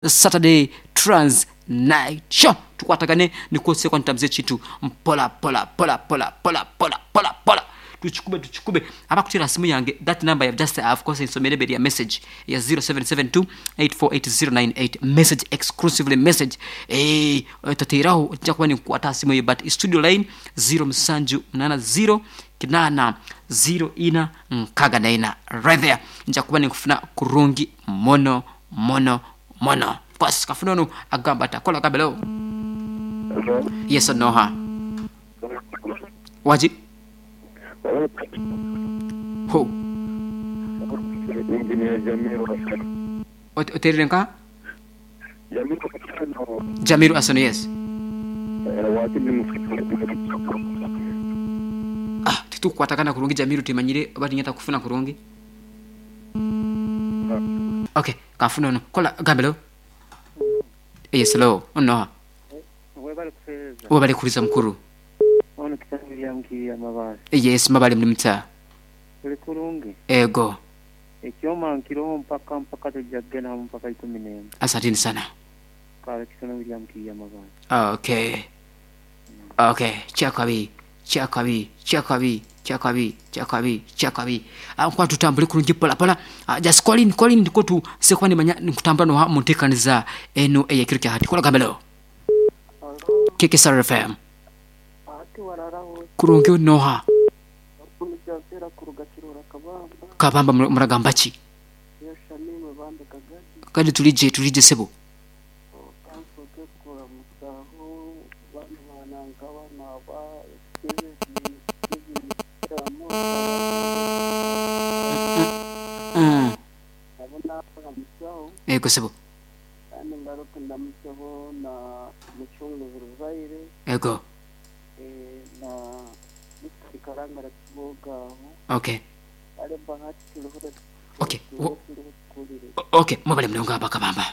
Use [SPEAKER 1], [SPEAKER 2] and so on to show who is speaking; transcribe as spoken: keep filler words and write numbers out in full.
[SPEAKER 1] Saturday Trans Night Show. Tukwatagane nikwo ntambuza ekintu mpola pola pola pola pola pola pola pola, tukikube tukikube. Abakutera simu yange, that number ya just, of course, nsomere beri ya message ya zero seven seven two eight four eight zero nine eight, message exclusively, message eh tateraho nja kuba nikukwata simu ye, but studio line zero musanju munana zero kinana zero ina nkaga naina, right there nja kuba nikufuna kurungi mono mono mono. Of course, kafuna ono agamba atakola kabelo. Yes or no? Ha, waji ho.
[SPEAKER 2] Engineer Jamiru Hassan.
[SPEAKER 1] Ot- oterere nka
[SPEAKER 2] Jamiru Hassan.
[SPEAKER 1] Jamiru Asano, yes.
[SPEAKER 2] eh, wakili mufiki.
[SPEAKER 1] Ah, titukukwatagana kurungi Jamiru, timanyire oba tinyeta kufuna kurungi. Okay, kafuna ono kola gambelo. Yes, hello, onoha.
[SPEAKER 3] Webale kuseereza.
[SPEAKER 1] Webale kuliza, mukuru.
[SPEAKER 3] Ono kitangirya mukirya amabaale.
[SPEAKER 1] Yes, mabale muli muta?
[SPEAKER 3] Tuli kulungi.
[SPEAKER 1] Ego.
[SPEAKER 3] Ekyoma nkiroho mpaka mpaka tujja kugendamu mpaka ikumi n'emwe.
[SPEAKER 1] Asanteni sana.
[SPEAKER 3] Kale kisono birya mukirya amabaale.
[SPEAKER 1] okay okay kyakabi kyakabi kyakabi kyakabi kyakabi kyakabi. Ah, nkuba tutambule kurungi pola pola. Ah, just call in, call in, ndiko tu sekuba nimanya nikutambula noha munteekaniza eno eyekiro kya hati. Kola gambelo, K K S R F M.
[SPEAKER 4] Ati wararaho?
[SPEAKER 1] Kurungi, noha?
[SPEAKER 4] Kunijazera kuruga Kirora Kabamba.
[SPEAKER 1] Kabamba, mura- muragamba ki?
[SPEAKER 4] Yo Shamimwe bambe kagati.
[SPEAKER 1] Kandi tulije tulije sebo.
[SPEAKER 4] Kansoke kuramusaho bantu bananga banaba
[SPEAKER 1] mm.
[SPEAKER 4] nabo nakuramusaho.
[SPEAKER 1] Ego sebo.
[SPEAKER 4] Kandi ngaruke ndamusaho na mucunguzi Ruzaire.
[SPEAKER 1] Ego.
[SPEAKER 4] eh, na Mister Karangara Kibogaho.
[SPEAKER 1] Okay.
[SPEAKER 4] Ale Bahati turiho.
[SPEAKER 1] Okay, wo-
[SPEAKER 4] Turiho tukurire.
[SPEAKER 1] okay, mwebale mulongo aba Kabamba.